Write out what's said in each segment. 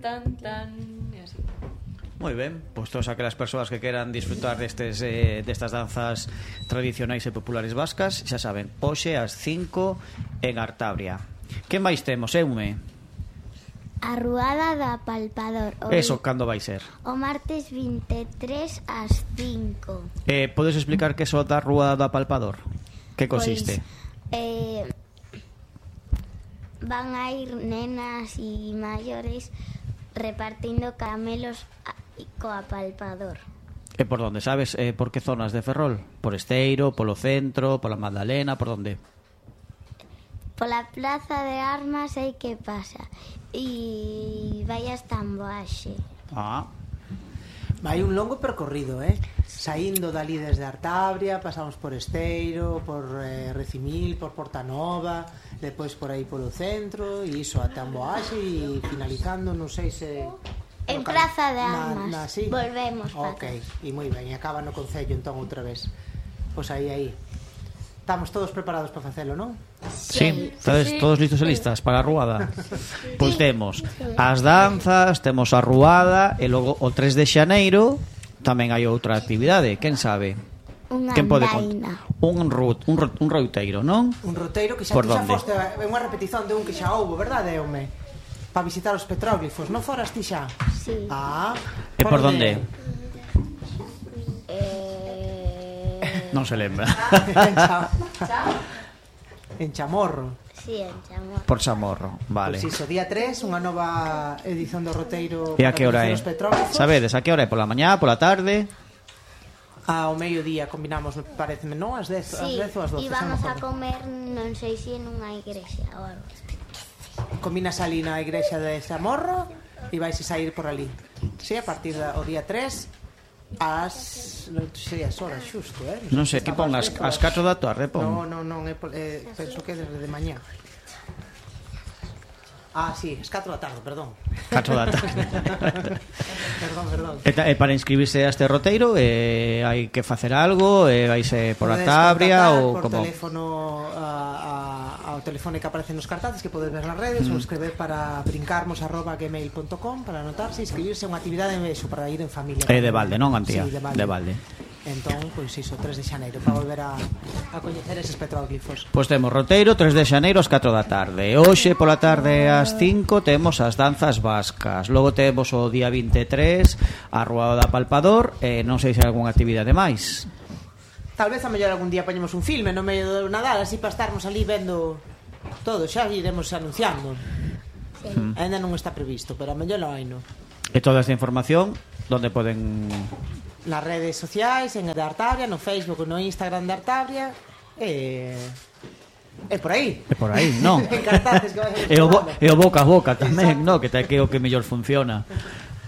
tan, tan, e así. Moi ben, pois todas aquelas persoas que queran disfrutar destas danzas tradicionais e populares vascas, xa saben, hoxe ás 5 en Artabria. Que máis temos, Eume? A Ruada do Apalpador. Eso, cando vai ser? O martes 23 ás 5. Podes explicar que é so da Ruada do Apalpador? Que consiste? Van a ir nenas e maiores repartindo caramelos co apalpador. E por onde, sabes? Por que zonas de Ferrol? Por Esteiro, polo centro, pola Magdalena, por onde? Pola Plaza de Armas sei que pasa. E vai hasta Amboaxe. Vai un longo percorrido, saindo dali desde Artabria, pasamos por Esteiro, por Recimil, por Portanova, depois por aí polo centro, e iso ata Amboaxe, e finalizando, non sei se... En Praza de Armas. Sí? Volvemos para Ok, e moi ben, e acaba no Concello entón outra vez. Pois aí. Estamos todos preparados para facelo, non? Sí, todos listos e listas para a ruada. Pois temos as danzas, temos a ruada, e logo o 3 de xaneiro tamén hai outra actividade, quen sabe? Unha andaina. Un roteiro, non? Un roteiro que xa foste, é unha repetición de un que xa houbo, verdade, Eume? Para visitar os petróglifos, non foras ti xa? Sí. E por onde? Non se lembra. En Chamorro. Sí, en Chamorro. Por Chamorro, vale. Pois iso, día 3, unha nova edición do roteiro. E a que hora é? Sabedes, a que hora é? Pola mañá, pola tarde? Ao mediodía combinamos, pareceme, non? As 10 ou as 12. E vamos a comer, non sei se en unha igrexa ou algo. Combinas ali na igrexa de Chamorro e vais a sair por ali. Sí, a partir do día 3 ás... non sei as horas xusto, Non sei, que pon as 4 da tarde, pon. Non, penso que desde de mañá. Sí, as 4 da tarde, perdón. 4 da tarde. Perdón. E para inscribirse a este roteiro hai que facer algo, vaise por Artabria ou como? Por teléfono ao teléfono que aparece nos cartazes que podes ver nas redes ou escrever para brincarmos@gmail.com para anotarse e inscribirse a unha actividade para ir en familia. É de balde, non, Antía? Sí, de balde. Entón, pois iso, 3 de xaneiro para volver a coñecer eses petróglifos. Pois temos roteiro 3 de xaneiro ás 4 da tarde. Hoxe pola tarde ás 5 temos as danzas vascas. Logo temos o día 23 a Ruada do Apalpador. Non sei se hai algunha actividade máis. Tal vez a mellor algún día poñemos un filme no medio do Nadal, así para estarmos ali vendo todo, xa iremos anunciando. Sí. Ainda non está previsto, pero a mellor non hai, non? E toda esta información, onde poden... Nas redes sociais, en de Artabria, no Facebook, no Instagram de Artabria, e por aí. E por aí, non? E o boca a boca tamén, non? Que é o que mellor funciona.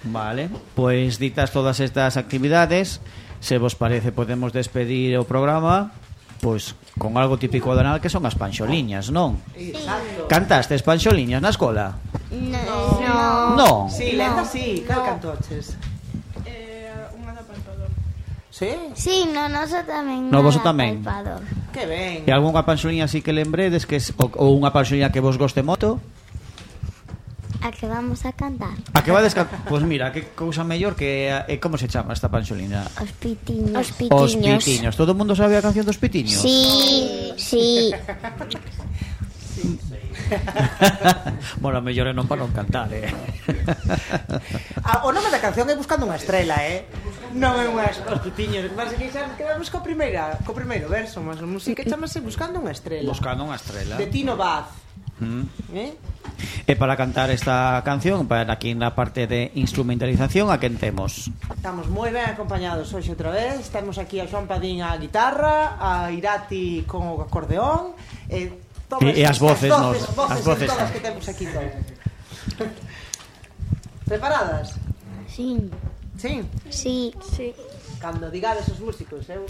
Vale, pois ditas todas estas actividades, se vos parece podemos despedir o programa pois con algo típico do Nadal que son as panxoliñas, non? Sí. Cantastes panxoliñas na escola? No. Non. Sí, lenta sí, cal cantoches? Unha da Apalpador. Sí? Sí, no noso tamén. No voso tamén. Apalpador. Que ben. E algunha panxoliña así que lembredes que ou unha panxoliña que vos goste moito? A que vamos a cantar. A que vades cantar? Pois mira, que cousa mellor que como se chama esta panxoliña? Os pitiños. Os pitiños. Todo o mundo sabe a canción dos pitiños? Sí. Bueno, mellor é non para non cantar, O nome da canción é Buscando unha estrela, non é os pitiños. Mas que xa quedamos co primeiro verso, mas a música chamase Buscando unha estrela. Buscando unha estrela. De Tino Baz. E para cantar esta canción, para aquí na parte de instrumentalización, a quen temos? Estamos moi ben acompañados hoxe outra vez. Temos aquí a Xoan Padín a guitarra, a Irati con o acordeón e as voces todas que temos aquí todas. Preparadas? Sí. Sí? Sí. Cando digades os músicos, eu...